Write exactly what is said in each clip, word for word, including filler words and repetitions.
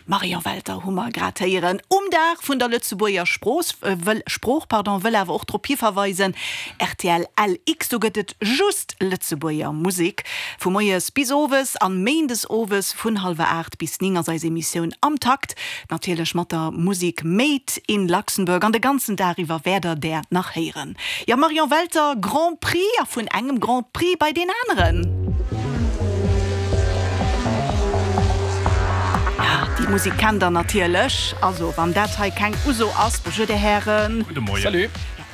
Marion Welter hu mer grad héieren um Dag vun der Lëtzebuerger Sprooch, wëll, Sprooch, pardon, wëll awer och drop hiverweisen, rtl LX, do gëtt et just Lëtzebuerger Musek vu moies bis owes an méindes owes vun hallwer aacht bis néng ass eis Emissioun Am Takt, natierlech mat der Musek Made in Luxembourg an de ganzen Dag iwwer wäert der där nach héieren. Jo Marion Welter, Grand Prix a vun engem Grand Prix bei deen aneren. Ja, déi Musek kennt der natierlech. Also, wann dat hei keng Uso ass, Bonjour Dir Hären. Gudde Moien. Salut.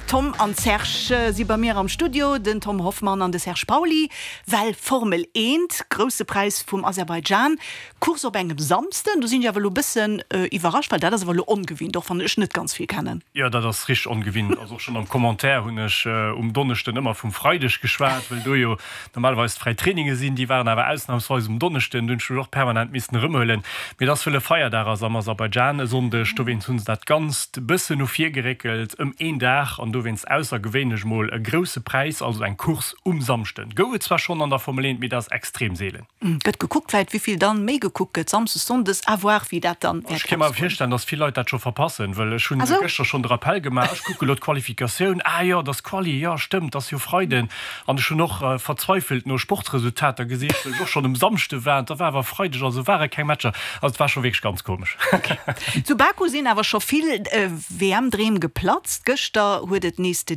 Tom an Serge si bei mir am Studio, den Tom Hoffmann an de Serge Pauly. Well Formel eent, Grousse Präis vum Aserbaidschan, Course op engem Samsden, do sinn ech awer elo e bëssen iwwerrascht, well dat ass awer elo ongewinnt, och wann ech net ganz vill kennen. Jo, dat ass richteg ongewinnt. Also och schonn am Commentaire hunn ech um Donneschden ëmmer vum Freideg geschwat, well do jo normalerweis d'fräi Traininge sinn. Déi waren awer ausnamsweis um Donneschden. Do hunn ech mech och permanent missen erëmhuelen. Mee et ass, wëll e Feierdag ass am Aserbaidschan e Sonndeg, dowéinst hu se dat Ganzt e bëssen no vir geréckelt ëm een Dag an dowéinst aussergewéinlech mol e grousse Präis, also eng Course um Samschden. Gouf et zwar schonn an der Formel eent, mee dat ass extrem seelen. Gëtt gekuckt, vläit wéivill dann méi gekuckt gëtt, Samsdes, Sonndes, à voir wéi dat dann wäert. Ech ka mer virstellen, dass vill Leit dat scho verpassen, wëll ech hunn gëschter schonn de Rappel gemaach, ech kucke lo d'Qualifikatioun, ah jo, et ass Quali, jo stëmmt, et ass jo Freiden, an ech hunn och verzweifelt no Sportsresultater gesicht, wëll ech och schonn um Samschde war, an da war awer Freideg, also ware keng Matcher, also et war scho wierklech ganz komesch. Zu Baku sinn awer scho vill W M-Dreem geplatzt. Gëschter huet et nees de.